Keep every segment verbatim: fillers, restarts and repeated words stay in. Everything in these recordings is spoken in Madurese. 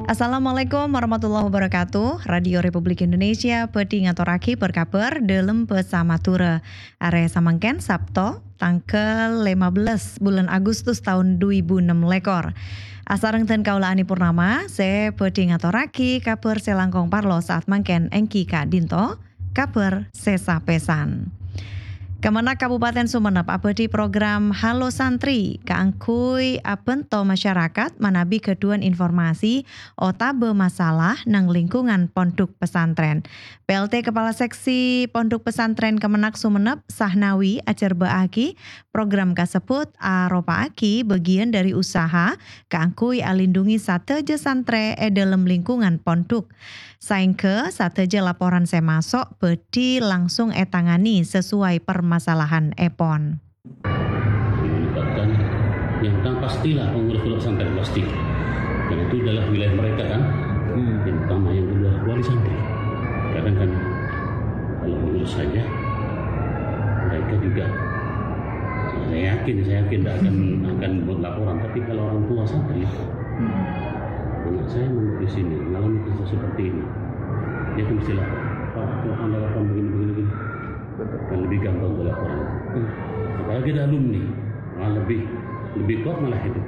Assalamualaikum warahmatullahi wabarakatuh. Radio Republik Indonesia bhâdhi ngatorraghi bâr-kabhâr dâlem bhâsa Madhurâ. Arè samangkèn Sabto, tangghâl lèma bellâs bulân Agustus taon du èbu ennem lèkor. Asareng dân kaulâ Ani Purnama, sè bhâdhi ngatorraghi kabhâr sè langkong parlo sa'at mangkèn èngghi ka'dinto. Kabhâr sè sapèsan. Kemenag Kabupaten Sumenep abhâdhi program Halo Santri kaangghuy abhânto masyarakat manabi ghâdhuwân informasi otabâ masalah neng lingkungan pondhuk pesantren. P L T Kepala Seksi Pondhuk Pesantren Kemenag Sumenep, Sahnawi, ajhârbâ'âghi program kasebbhut aropa'aghi bâgiyân dhâri usaha kaangghuy alindhungi sadhâjâ santrè è dhâlem lingkungan pondhuk. Saèngghâ sadhâjâ laporan sè maso' bhâdhi langsung ètangani sesuai permasalahanèpon. Melibatkan yang utama pastilah pengurus pondok pesantren, pasti. Karena itu adalah wilayah mereka, kan. Hmm. Yang utama, yang kedua wali santri. Kadang kan kalau pengurus saja, mereka juga, saya yakin, saya yakin tidak akan, akan buat laporan. Tapi kalau orang tua santri, Hmm. Anak saya mau di sini, mengalami kasus seperti ini. Dia kan mesti lapor. "Pak, kok Anda laporan begini, begini, begini?" Betul. Kan lebih gampang untuk laporan. Hmm. Apalagi ada alumni, malah lebih, lebih kuat malah itu.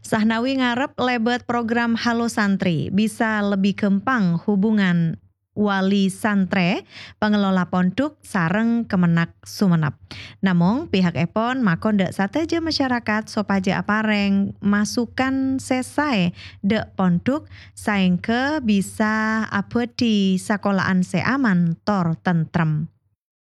Sahnawi ngarep lèbât program Halo Santri bisa lebih ghâmpang hubungan wali santrè, pangelola pondhuk, sareng Kemenag Sumenep. Namong, pihakèpon makon dhâ' sadhâjâ masyarakat sopajâ aparèng masukan sè saè dhâ' pondhuk saèngghâ bisa abhâdhi sakola'an sè aman tor tentrem.